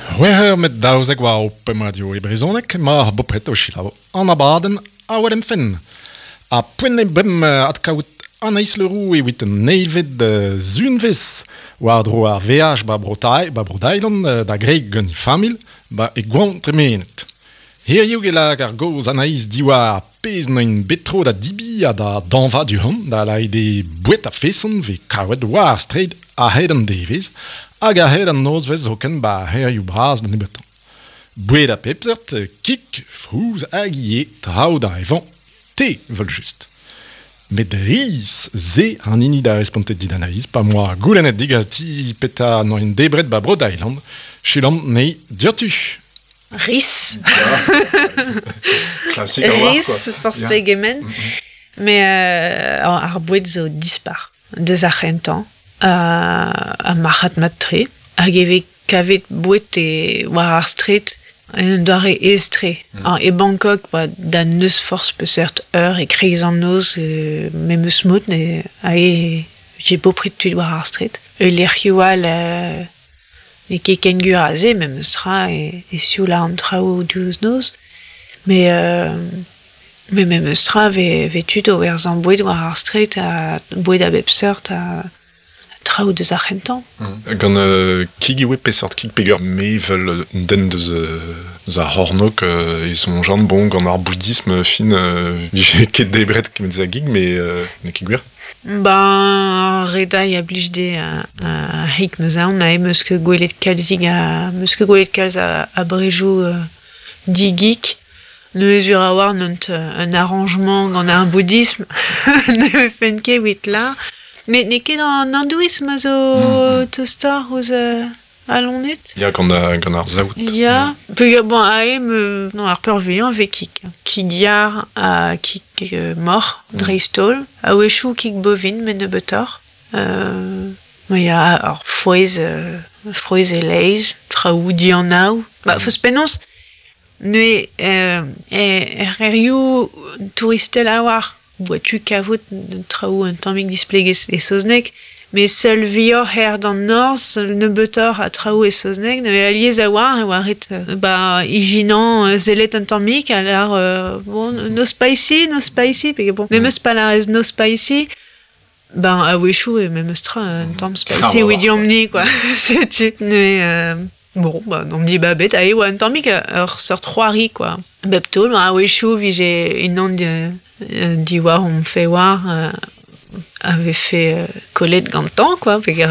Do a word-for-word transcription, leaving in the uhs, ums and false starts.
C'hwec'h eur met daouzek war ho pemp radio e brezhoneg, ma bopred o selaou an abadenn Awel em fenn. Ha poent eo bremañ adkaout Anaïs Le Roux evit an eilvet sizhunvezh war-dro ar veaj ba Bro-Thaï, ba Bro-Thailand da greg gant he familh ba e goañv tremenet. Hiziv e lak ar gaoz Anaïs diwar pezh 'neuint bet tro da debriñ ha da dañva du-hont, da lâret eo boued a-feson 'vez kavet war ar straed a-hed an devezh hag a-hed an nozvezh zoken ba c'hêrioù bras da nebeutañ. Boued a bep seurt, kig, frouezh hag ivez traoù da evañ, te evel-just. Met riz, se an hini da respontet dit Anaïs, pa 'moa goulennet diganti petra 'neuint debret ba Bro-Thailand, selaomp 'nei diouzhtu. Riz. Klasik a-walc'h, Riz, quoi. forzh Ya. pegement. Mais euh, ar boued zo dispar. Deus ar c'hentañ, uh, ha marc'had mat-tre. Hag e vez kavet boued e war ar straed en un doare aes-tre. Mm. E Bangkok, ba, da n'eus forzh peseurt eur e kreiz an noz, euh, memes mod, ne, ae, j'ai bopred tud war ar straed. E lec'hioù all, euh, n'eo ket ken gwir aze, memes tra, e, e sioul an traoù diouzh noz. Mais, euh, mais memes tra 'vez, 'vez tud o werzhañ boued war ar straed ha boued a bep seurt ha, ha traoù deus ar c'hentañ. Gant euh, kig eo peseurt kig peger me 'vel un den deus, euh, deus ar c'hornôg euh, e soñjan bon gant ar bouddhisme fin euh, vije ket debret kemet a gig mais euh, n'eo ket gwir. Ben, redai a blij de a, a hik meus aon a meus ket gwelet kalzig a meus ket gwelet kalz a, a brejoù euh, digik. Neuze sur a war neunt un arrangement gant ar bouddhisme ne fen ket evit la. Met n'eo ket an hindouisme a zo mm -hmm. tostoc'h ouzh euh, al loened. Ya gant, a, gant ar saout. Ya, peogwir bon ae me non ar peurvuiañ 'vez kig. Kig yar ha kig euh, moc'h dreist-holl. A-wechoù kig bovin met nebeutoc'h. Euh, ma ya ar frouezh, euh, frouezh e-leizh, traoù dianav. Ba, mm. Forzh penaos, neuze euh, er c'hêrioù touristel a-walc'h, 'boa tu kavout traoù un tammig displeget e saozneg, met seul vuioc'h ec'h er d'an norzh, nebeutoc'h a traoù e saozneg, neuze alies a-walc'h e oa ret ba ijinañ sellet un tammig, ha lâr euh, bon, no spicy, no spicy, pe bon, memes pa lârez no spicy, ben a-wechoù e memes tra un tamm spicy Ah, evit deomp-ni, quoi. Setu. Neuze, euh, bon, ba, n'omp dibabet, ae oa un tammig ur seurt c'hoari, quoi. Bep taol, a-wechoù 'vije unan diwar hon fewar euh, a vefe euh, kollet gantañ, quoi, peogwir